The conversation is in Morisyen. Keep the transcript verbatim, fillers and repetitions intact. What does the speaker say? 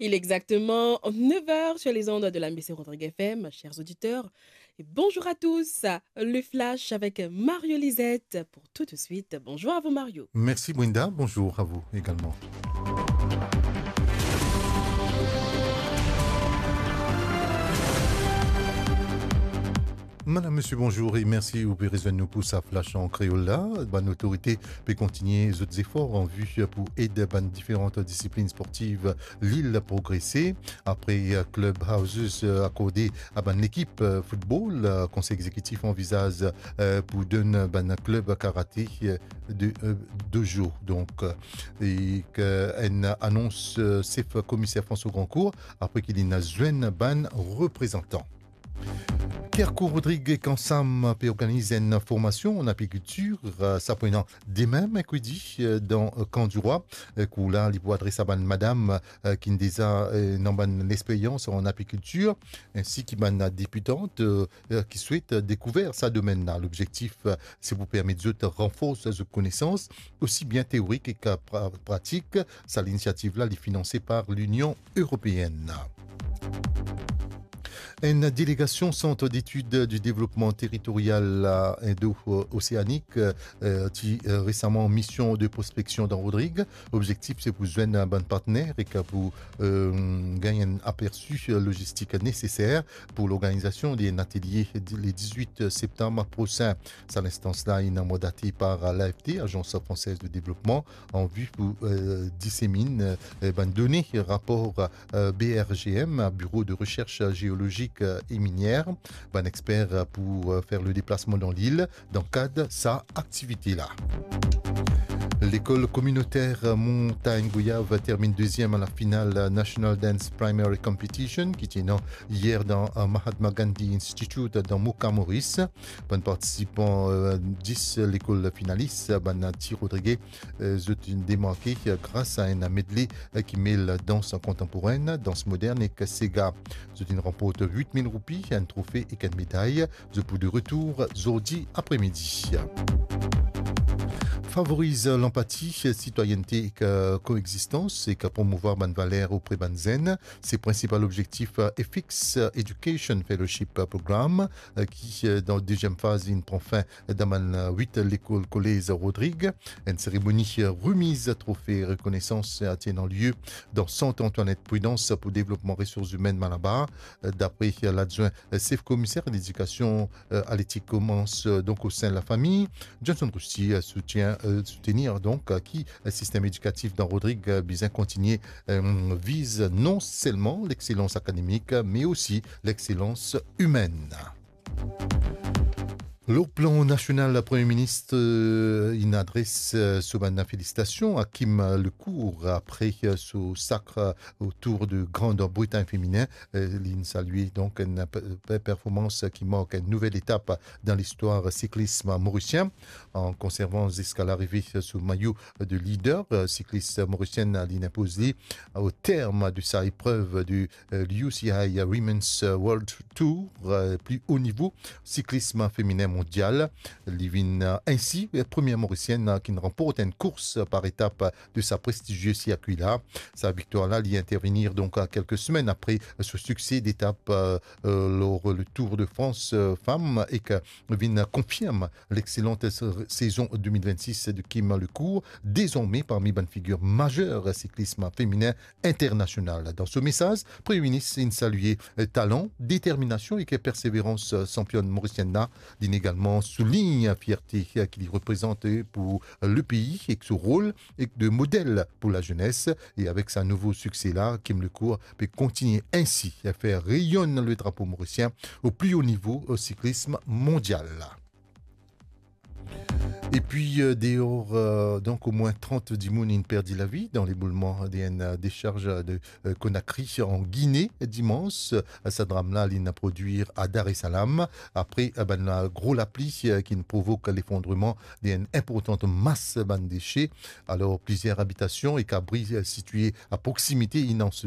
Il est exactement neuf heures sur les ondes de la M B C Rodrigues F M, chers auditeurs, et bonjour à tous. Le Flash avec Mario Lisette pour tout de suite. Bonjour à vous, Mario. Merci, Brenda. Bonjour à vous également. Madame, monsieur, bonjour et merci. Ou pe rezwenn nou pou sa Flash an kreol la. Bann otorite pe kontinie zot zefor an vi pou ed bann diferan disiplin sportiv Lil progrese. Apre, eh, club houses, eh, akorde a bann lekip, eh, football, eh, konsey exekitif anvizaz, eh, pou donn bann klub karate, eh, de, eh, dojo. Donk, eh, e ke enn anons, eh, sef komiser François Grandcourt, apre ki li inn zwenn bann reprezantan. Kercourt Rodrigues ek Ansam pe organiz enn formasion an apikiltir, eh, sa pou ena demin, merkredi, eh, dan, eh, Camp du Roi. Eh, kour la, li pou adres a bann madam, eh, ki'nn deza, eh, ena bann lexperyans an apikiltir, ensi ki bann debitan, eh, eh, ki swet dekouver sa domenn la. Lobzektif, eh, se pou permet zot ranfors zot konesans, osi bien teorik ek pra-, pratik. Sa linisiativ la, li finanse par Linion Eropeenn. Enn delegasion Centre d'Études du Développement Territorial, eh, Indo-Océanique, eh, ti, eh, resaman mision de prospeksion dan Rodrig. Lobzektif, se pou zwenn bann partner ek pou, eh, gagn enn apersi, eh, logistik neseser pou lorganizasion d'enn atelie di-, le dizwit septam prosin. Sa linstans la, inn mandate par l'A F T, Agence Française de Développement, an vi pou, eh, diseminn, eh, bann done rapor, eh, B R G M, Bureau de Recherche Géologique, eh, et Minière. Bann exper, eh, pou, eh, fer le deplasman dan lil dan kad sa aktivite la. Lekol kominoter Montagne Goyave terminn deziem a la final National Dance Primary Competition ki ti ena yer dan, eh, Mahatma Gandhi Institute dan Moka, Moris. Bann partisipan, eh, dis lekol finalis, bann ti Rodrige, eh, zot inn demarke, eh, gras a enn medley, eh, ki mel dans kontanporenn, dans modern ek sega. Zot inn ranport wit mil roupi, enn trofe ek enn meday. Zot pou de retour zordi apremidi. Favoriz lanpati, sitwayennte ek, eh, koexistans ek promouvwar bann valer opre bann zenn, se prinsipal lobzektif, eh, EFIX, eh, Education Fellowship Program, eh, ki, eh, dan deziem faz, inn pran fin dan bann, eh, wit lekol kolez Rodrig. Enn seremoni, eh, remiz trofe rekonesans, eh, ti ena lie dan Sant Antoinette Prudence pou Devlopman Resours Imenn Malabar. Eh, dapre, eh, ladwin, eh, sef komiser ledikasion, eh, atletik komans, eh, donk o sin lafami. Johnson Rousty, eh, soutien, eh, soutenir donk, eh, ki, eh, sistem edikatif dan Rodrig, eh, bizin kontigne, eh, viz non selman lexselans akademik, me osi lexselans imenn. Lor plan nasional, Premie Minis, eh, inn adres, eh, so bann felisitasion a Kim Lecourt apre, eh, so sakre, eh, o Tour de Grande Bretagne feminin. Eh, li inn salie donk enn pe-, pe-, performans ki mark enn nouvel etap dan listwar siklism morisien. An konservan ziska larive so mayo de lider, eh, siklis morisienn, eh, li inn inpoz li o term de sa eprev de, eh, l'U C I Women's World Tour, eh, pli o nivo siklism feminin mondial. Li vinn, eh, ensi, eh, premie morisienn, eh, ki'nn ranport enn kours par etap de sa prestizie sirkwi la. Sa viktwar la, li intervenir donk a kelke semenn apre so sikse detap, eh, eh, lor le Tour de France, eh, fam ek vinn konfirm lexselant se-, sezon de mil vennsis de Kim Lecourt, dezorme parmi bann figir mazer siklism feminin internasional. Dan so mesaz, Premie Minis inn salie, eh, talan, determinasion ek perseverans, eh, sanpionn morisienn la. Li inn egalman soulign fierte, eh, ki li reprezant, eh, pou lepei ek so rol ek de model pou lazenes. E avek sa nouvo sikse la, Kim Lecourt pe kontigne ensi fer reyonn le drapo morisien o pli o nivo o siklism mondial. Epi, eh, deor, eh, donk, omwin trant dimoun inn perdi lavi dan leboulman de enn, eh, desarz de, eh, Conakry an Gine, dimans. Sa dram la, li inn prodwir a Dar es Salaam, apre, eh, bann gro lapli, eh, ki'nn provok lefondreman de enn inportan mas bann dese. Alor, plizier abitasion ek abri, eh, sitie a proksimite inn anse-,